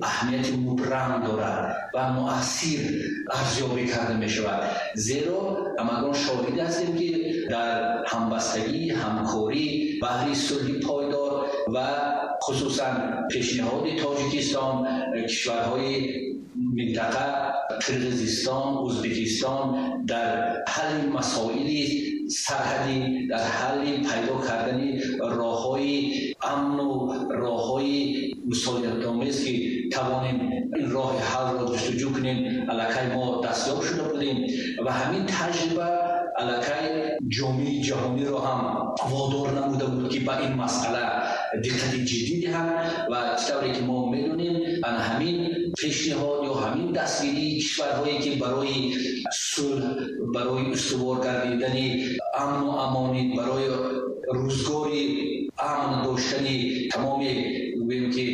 Аҳамияти мубрам дорад ва муассир арзёбӣ карда мешавад. Зеро ҳамагон шоҳид ҳастем, ки дар ҳамбастагӣ, ҳамкорӣ баҳри сулҳи пойдор ва хусусан пешниҳоди Тоҷикистон, кишварҳои минтақа, Қирғизистон, Ӯзбекистон дар ҳалли масоили сарҳадӣ, дар ҳалли пайдо кардани роҳҳои амну роҳҳои мусоидатомез, ки тавонем ин роҳи ҳалро ҷустуҷӯ кунем, аллакай мо дастёб шуда будем ва ҳамин таҷриба аллакай ҷомеаи ҷаҳониро ҳам водор намуда буд, ки ба ин масъала диққати ҷиддӣ диҳад. Ва чӣ тавре ки мо медонем, ана ҳамин пешниҳод ё ҳамин дастгирии кишварҳое, ки барои сулҳ, барои устувор гардидани амну амонӣ, барои рӯзгори амн доштани тамоми, гӯем ки,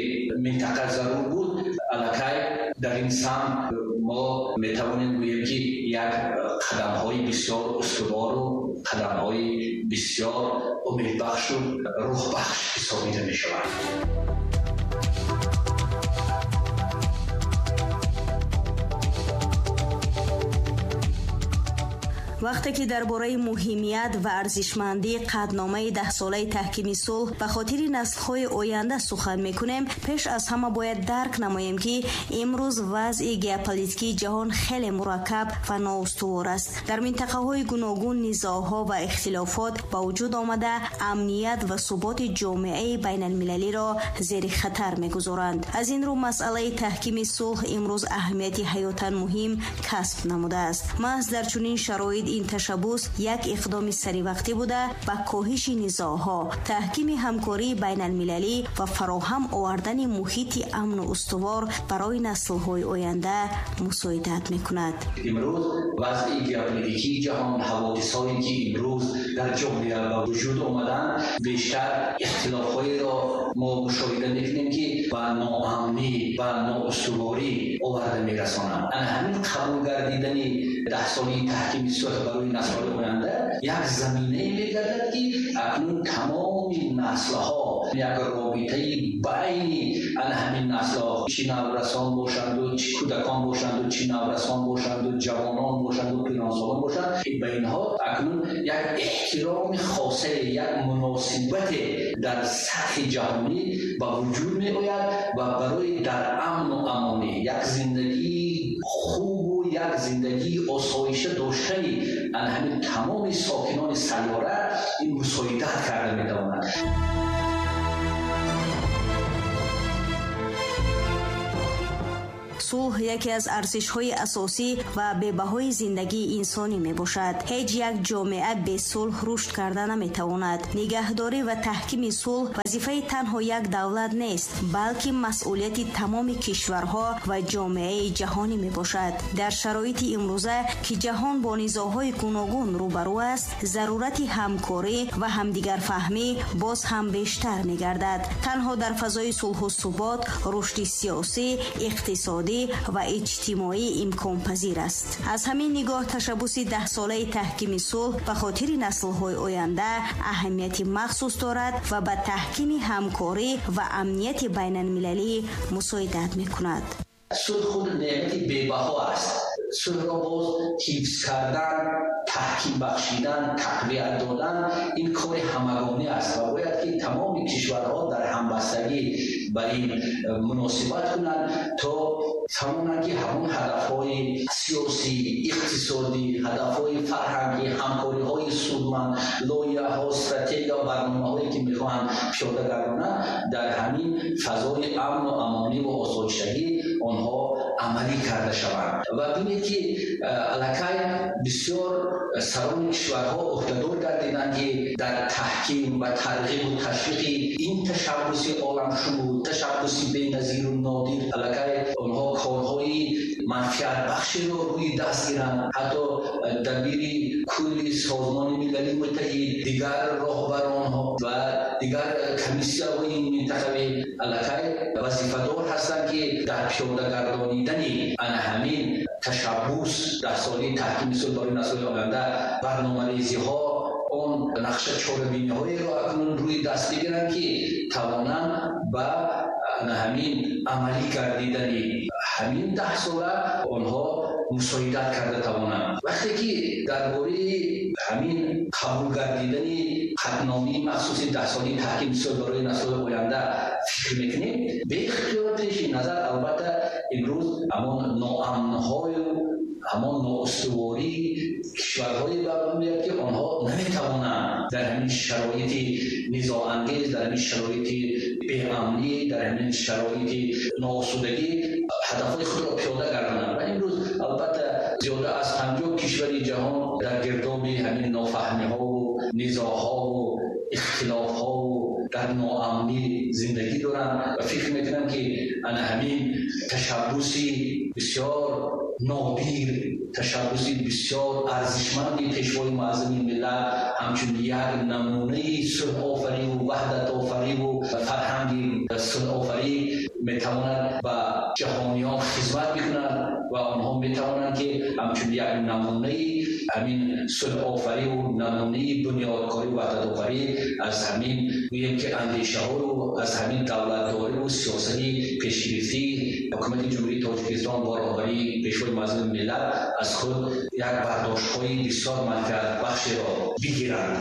минтақа зарур буд, аллакай дар ин самт мо метавонем гӯем, ки як қадамҳои бисёр устувору қадамҳои бисёр умедбахшу рӯҳбахш ҳисобида мешавад. Вақте ки дар бораи муҳимият ва арзишмандии қатъномаи даҳсолаи таҳкими сулҳ ба хотири наслҳои оянда сухан мекунем, пеш аз ҳама бояд дарк намоем, ки имрӯз вазъи геополитикии ҷаҳон хеле мураккаб ва ноустувор аст. Дар минтақаҳои гуногун низоъҳо ва ихтилофот ба вуҷуд омада, амният ва суботи ҷомеаи байналмилалиро зери хатар мегузоранд. Аз ин рӯ масъалаи таҳкими сулҳ имрӯз аҳамияти ҳаётан муҳим касб намудааст. Маҳз дар чунин шароит ин ташаббус як иқдоми саривақтӣ буда, ба коҳиши низоъҳо, таҳкими ҳамкории байналмилалӣ ва фароҳам овардани муҳити амну устувор барои наслҳои оянда мусоидат мекунад. Имрӯз вазъи геополитикии ҷаҳон, ҳаводисҳое, ки имрӯз дар ҷомеа ба вуҷуд омаданд, бештар ихтилофҳоеро мо мушоҳида мекунем, ки ба ноамнӣ ва ноустуворӣ оварда мерасонанд. Ана ҳамин қабул гардидани даҳсолаи таҳкими сулҳ барои наслҳои оянда як заминае мегардад, ки акнун тамоми наслҳо як робитаи байни ана ҳамин наслҳо, чӣ наврасон бошанду, чӣ кӯдакон бошанду, чӣ наврасон бошанду, ҷавонон бошанду, пиронсолон бошанд, ба инҳо акнун як эҳтироми хосе, як муносибате дар сатҳи ҷаҳонӣ ба вуҷуд меояд ва барои дар амну амонӣ як зиндагии хубу як зиндагии осоиша доштани ана ҳамин тамоми сокинони сайёра ин мусоидат карда метавонад. Сулҳ яке аз арзишҳои асосӣ ва бебаҳои зиндагии инсонӣ мебошад. Ҳеҷ як ҷомеа бе сулҳ рушд карда наметавонад. Нигаҳдорӣ ва таҳкими сулҳ вазифаи танҳо як давлат нест, балки масъулияти тамоми кишварҳо ва ҷомеаи ҷаҳонӣ мебошад. Дар шароити имрӯза, ки ҷаҳон бо низоъҳои гуногун рӯбарӯ аст, зарурати ҳамкорӣ ва ҳамдигарфаҳмӣ боз ҳам бештар мегардад. Танҳо дар фазои сулҳу субот рушди сиёсӣ, иқтисодӣ ва иҷтимоӣ имконпазир аст. Аз ҳамин нигоҳ ташаббуси даҳсолаи таҳкими сулҳ ба хотири наслҳои оянда аҳамияти махсус дорад ва ба таҳкими ҳамкорӣ ва амнияти байналмилалӣ мусоидат мекунад. Сулҳ худ неъмати бебаҳо аст. Сулҳро боз ҳифз кардан, таҳким бахшидан, тақвият додан ин кори ҳамагонӣ аст ва бояд ки тамоми кишварҳо дар ҳамбастагӣ ба ин муносибат кунанд, то тавонанд, ки ҳамон ҳадафҳои сиёсӣ, иқтисодӣ, ҳадафҳои фарҳангӣ, ҳамкориҳои судманд, лоиҳаҳо, стратегия ва барномаҳое, ки мехоҳанд пиёда гардонанд, дар ҳамин фазои амну амонӣ ва осоиштагӣ онҳо амалӣ карда шаванд. Ва бинед, ки аллакай бисёр сарони кишварҳо ӯҳдадор гардиданд, ки дар таҳким ва тарғибу ташвиқи ин ташаббуси оламшумул, ташаббуси беназиру нодир, аллакай онҳо корҳои манфиатбахширо рӯи даст гиранд. Ҳатто дабири кулли Созмони Милали Муттаҳид, дигар роҳбаронҳо ва дигар комиссияҳои минтақавӣ аллакай вазифадор ҳастанд, ки дар пиёда гардонидани ана ҳамин ташаббус даҳсолаи таҳкими сулҳ барои наслҳои оянда барномарезиҳо, он нақша чорабиниҳоеро акнун рӯи даст бигиранд, ки тавонанд ба ҳамин амалӣ гардидани ҳамин 10 сола онҳо мусоидат карда тавонанд. Вақте ки дар бораи ҳамин қабул гардидани қатъномаи махсуси 10-солаи таҳкими сулҳ барои наслҳои оянда фикр мекунем, беихтиёр пеши назар албатта имрӯз ҳамон ноамнҳою ҳамон ноустувории кишварҳое ба меояд, ки онҳо наметавонанд дар ҳамин шароити низоангез, дар ҳамин шароити беамнӣ, дар ҳамин шароити ноосудагӣ ҳадафҳои худро пиёда гардонанд. Ва имрӯз албатта зиёда аз 50 кишвари ҷаҳон дар гирдоби ҳамин нофаҳмиҳову низоъҳову ихтилофҳову дар ноамнӣ зиндагӣ доранд. Ва фикр мекунам, ки ана ҳамин ташаббуси бисёр нодир, ташаббуси бисёр арзишманди Пешвои муаззами миллат ҳамчун як намунаи сулҳофариву ваҳдатофариву фарҳанги сулҳофарӣ метавонад ба ҷаҳониён хизмат бикунад ва онҳо метавонанд, ки ҳамчун як намунаи ҳамин сулҳофариву намунаи бунёдкорӣ, ваҳдатофарӣ аз ҳамин гӯем ки андешаҳою аз ҳамин давлатдориву сиёсати пешгирифтии ҳукумати Ҷумҳурии Тоҷикистон бо роҳбарии Пешвои муаззами миллат аз худ як бардоштҳои бисёр манфиатбахшеро бигиранд.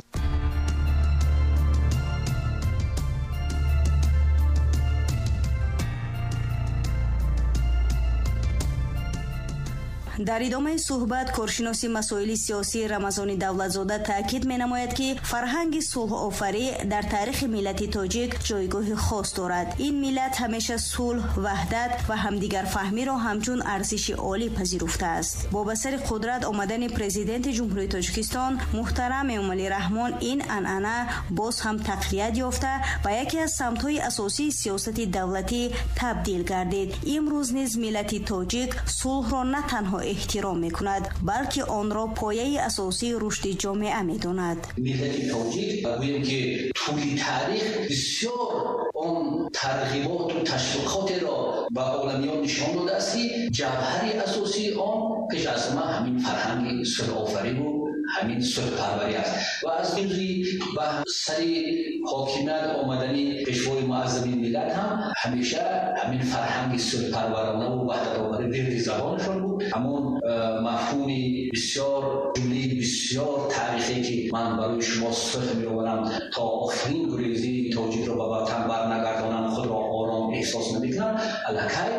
Дар идомаи суҳбат коршиноси масоили сиёсӣ Рамазони Давлатзода таъкид менамояд, ки фарҳанги сулҳофарӣ дар таърихи миллати тоҷик ҷойгоҳи хос дорад. Ин миллат ҳамеша сулҳ, ваҳдат ва ҳамдигарфаҳмиро ҳамчун арзиши олӣ пазируфтааст. Бо ба сари қудрат омадани Президенти Ҷумҳурии Тоҷикистон муҳтарам Эмомалӣ Раҳмон ин анъана боз ҳам тақвият ёфта, ба яке аз самтҳои асосии сиёсати давлатӣ табдил гардид. Имрӯз низ миллати тоҷик сулҳро на танҳо эҳтиром мекунад, балки онро пояи асосии рушди ҷомеа медонад. Миллати тоҷик гӯем ки тӯли таърих бисёр он тарғиботу ташвиқотеро ба оламиён нишон додааст, ки ҷавҳари асосии он пеш аз ҳама ҳамин фарҳанги сулҳофариву ҳамин сулҳпарварӣ аст. Ва аз рӯзи ба сари ҳокимият омадани Пешвои муаззами миллат ҳам ҳамеша ҳамин фарҳанги сулҳпарваронаву ваҳдатофарӣ вирди забонашон буд. Ҳамон мафҳуми бисёр, ҷумлаи бисёр таърихе, ки ман барои шумо сулҳ меоварам, то охирин гурезии тоҷикро ба ватан барнагардонам, худро ором эҳсос намекунам, аллакай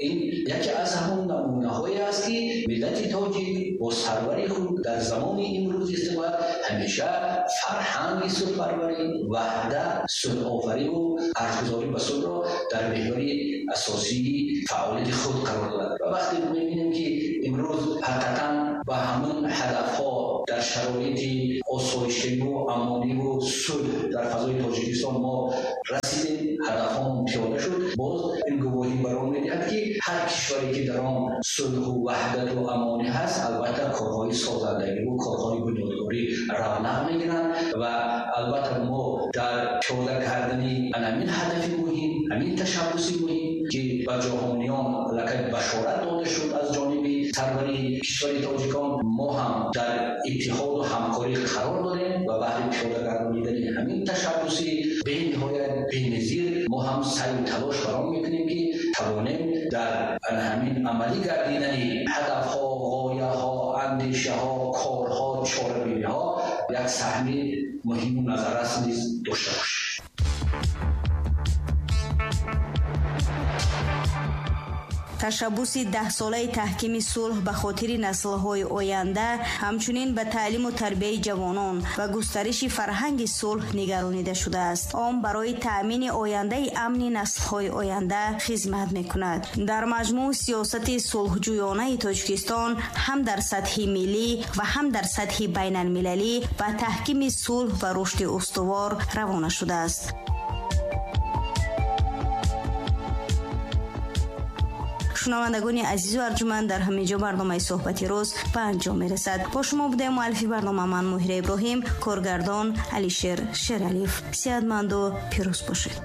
ин яке аз ҳамон намунаҳое аст, ки миллати тоҷик бо сарвари худ дар замони имрӯз истиқлол ҳамеша фарҳанги сулҳпарварӣ, ваҳдат, сулҳофариву арҷгузорӣ ба сулҳро дар меҳвари асосии фаъолияти худ қарор додад. Ва вақте мебинем, ки имрӯз ҳақиқатан ба ҳамон ҳадафҳо дар шароити осоиштагиву амониву сулҳ дар фазои Тоҷикистон мо расидем, ҳадафҳомон пиёда шуд, боз ин гувоҳӣ бар он медиҳад, ки ҳар кишваре ки дар он сулҳу ваҳдату амонӣ ҳаст, албатта корҳои созандагиву корҳои бунёдкорӣ равнақ мегиранд. Ва албатта мо дар пиёда кардани ҳамин ҳадафи муҳим, ҳамин ташаббуси муҳим, ки ба ҷаҳониён аллакай башорат дода шуд аз ҷониби сарвари кишвари тоҷикон, мо ҳам дар иттиҳоду ҳамкорӣ қарор дорем ва баҳри пиёда гардонидани ҳамин ташаббуси бениҳоят беназир мо ҳам саъю талош бар он мекунем, ки тавонем дар ҳамин амалӣ гардидани ҳадафҳо, ғояҳо, андешаҳо, корҳо, чорабиниҳо як саҳми муҳиму назаррас низ дошта бошем. Ташаббуси 10-солаи таҳкими сулҳ ба хотири наслҳои оянда ҳамчунин ба таълиму тарбияи ҷавонон ва густариши фарҳанги сулҳ нигаронида шудааст. Он барои таъмини ояндаи амни наслҳои оянда хизмат мекунад. Дар маҷмӯъ, сиёсати сулҳҷӯёнаи Тоҷикистон ҳам дар сатҳи миллӣ ва ҳам дар сатҳи байналмилалӣ ба таҳкими сулҳ ва рушди устувор равона шудааст. Шунавандагони азизу арҷуманд, дар ҳамин ҷо барномаи суҳбати рӯз ба анҷом мерасад. Бо шумо будаем муаллифи барнома ман, Муҳира Иброҳим, коргардон Алишер Шералиев. Сеҳатманду пирӯз бошед.